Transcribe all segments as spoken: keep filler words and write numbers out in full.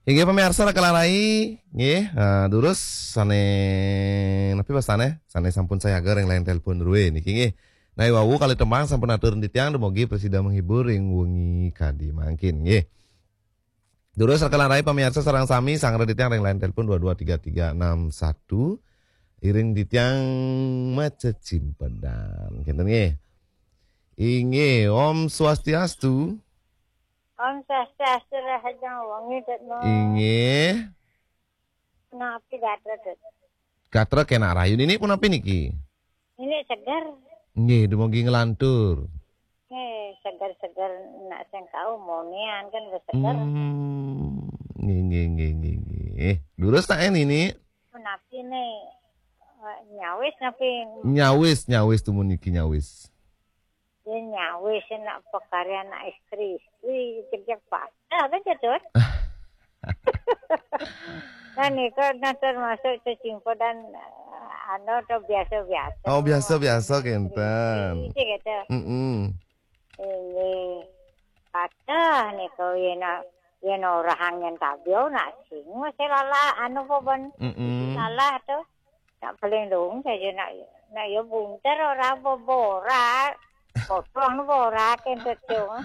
Inggih pamiarsa raka lan rai, nggih, eh, durus sané napi wastane? Sané sampun sayaga ring line telepon drué niki nggih. Nah, wau kalih tembang sampun atur titiang dumugi prasida menghibur ring wengi kadi mangkin nggih. Durus raka lan rai pamiarsa sareng sami sanggra titiang ring line telepon dua dua tiga tiga enam satu. Iring titiang macecimpedan. Kinten nggih. Inggih, Om Swastiastu. Om Swastiastu, rahajeng wengi, Dut, no. Inggih. Napi gatra, Dut? Gatra kenak rahayu. Nini punapi niki? Nini seger. Nggih, dumugi nglantur. Nggih, seger-seger nak sing kaumonian kan wis seger. Hmm, nggih, nggih, nggih, nggih, nggih. Durus tak, eh, Nini? Punapi ni, eh, nyawis napi? Nyawis, nyawis tumun niki nyawis. Ya nyawis nak pakaryan anak istri, istri kerja patah kan, Dut? Nah, nika nah termasuk cecimpedan, eh, anu, to biasa-biasa. Oh, biasa-biasa kinten. Istri gitu. Mm-mm. Ini patah nika, yén, yén orahang nyén tabio nak sing masih lalah anu apa ben? Mm-mm. Lalah to. Nak paling dong saja nak, nak ya bunter ora bobora. Potong bora kentut dong.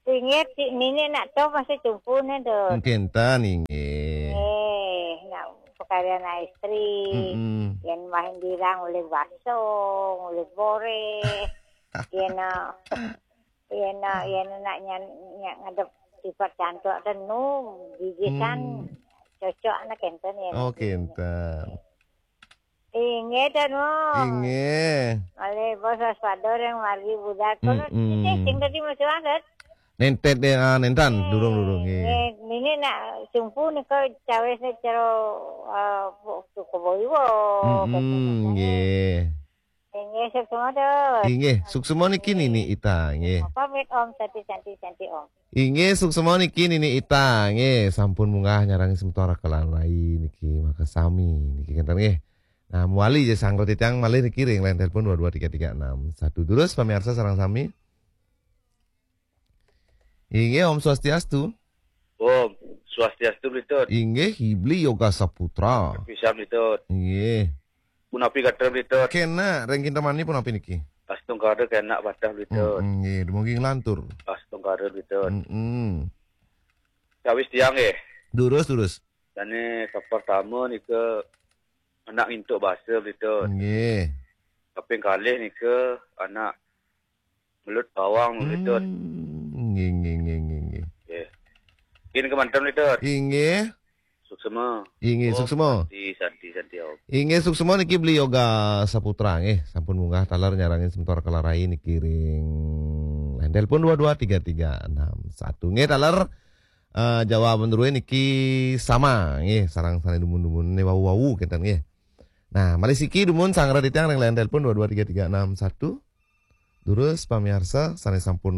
Inggih, Cik Nini nak to masih cumpune, Dut. Kinten, inggih. Eh, nak pakaryan istri. Mm-mm. Yén main dirang oleh baso, oleh bore. Yén, eh, yén, eh, yén nak nyan-, nyan-, ngadep sifat cantuk tenu, gigitan. Hmm. Cocok anak kinten ya. Oh, kinten. Inggih, Danu. Inggih. Malih bos waspada ring margi budal. Kono, mm-mm, ini sing tadi masih banget. Nentet deh, ah, nentan, eh, durung, durung, nggih. Nggih, ini nak sumpu nika cawis nih cero, eh, bu-, suku boiwo, mm-mm, katanya. Nggih. Inggih, suksma, Dut. Inggih, suksma niki Nini Ita, nggih. Pamit, Om, santi, santi, santi, Om. Inggih, suksma niki Nini Ita, nggih, sampun munggah nyarengin semeton raka lan rai niki, makasami niki kinten nggih. Nah, mawali ja sanggra titiang malih niki ring line telepon dua dua tiga tiga enam satu. Durus pamiarsa sareng sami. Inggih, Om Swastiastu. Om Swastiastu, Bli Tut. Inggih, Bli Yoga Saputra. Pisan, Bli Tut. Inggih. Punapi gatra, Bli Tut? Kenak, ring kinten mani punapi niki? Astungkara kenak patah, Bli Tut. Mm, nggih, dumugi nglantur. Astungkara, Bli Tut. Mm-mm. Cawis tiang nggih. Durus, durus. Dane kapertama nika anak ngintuk basa, Bli Tut. Nggih. Kaping kalih nika anak melut bawang, Bli Tut. Hmm, nggih, nggih, nggih, nggih, nggih. Nggih. Nggih, kemanten, Bli Tut. Inggih. Suksma. Inggih, Om, suksma. Santi, santi, santi, Om. Inggih, suksma niki Beli Yoga Saputra nggih, sampun munggah taler nyarengin semeton raka lan rai niki ring line telepon dua dua tiga tiga enam satu. Nggih, taler, eh, jawaban druwe niki sama nggih, sareng sane dumun-dumun ne wau-wau kinten nggih. Nah, malih siki dumun sanggra titiang ring line telepon dua dua tiga tiga enam satu. Durus pamiarsa sane sampun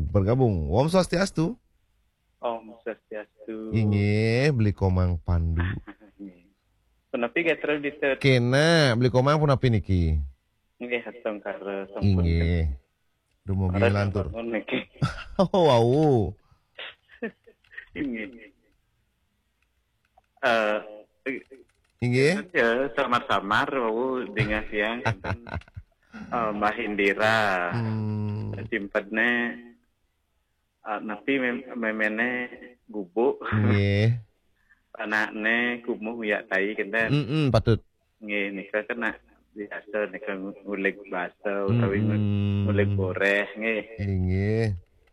bergabung. Om Swastiastu. Om Swastiastu. Inggih, Beli Komang Pandu. Punapi gatra, Bli Tut? Kena, Beli Komang punapi niki? Nggih, astungkara sampun. Inggih. Dumugi nglantur. Niki. Oh, wau. Inggih. Eh, inggih. Ya, samar-samar wau dingeh tiang kinten. Eh, Mbah Indira. Hmm. Simpedne, eh, napi mem-, memene gubuk. Nggih. Anakne kumuh uyak tai kinten. Mm-mm, patut. Nggih, nika kena biasa nika ngulig basa utawi ngu-, mm-mm, ngulig boreh nggih. Inggih.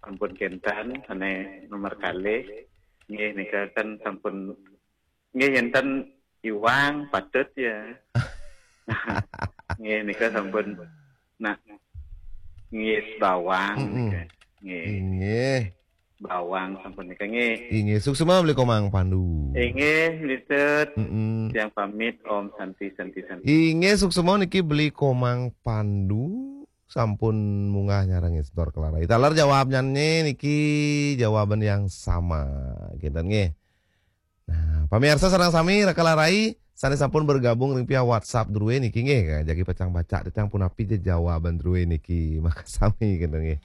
Sampun kinten sane nomor kalih. Nggih, nika kan sampun, nggih, enten iwang patut ya. Nggih, nika sampun nak ngis bawang, mm-mm, nika. Nggih. Inggih. Bawang sampun nika nggih. Inggih, suksma Beli Komang Pandu. Inggih, Bli Tut. Mm-mm. Tiang pamit, Om Santi, Santi, Santi. Inggih, suksma niki Beli Komang Pandu sampun munggah nyarengin semeton raka lan rai. Taler jawabnyane niki jawaban yang sama. Kinten nggih. Nah, pamiarsa sareng sami raka lan rai sane sampun bergabung ring via WhatsApp druwe niki nggih, jagi pacang baca titiang punapi ja jawaban druwe niki. Makasami kinten nggih.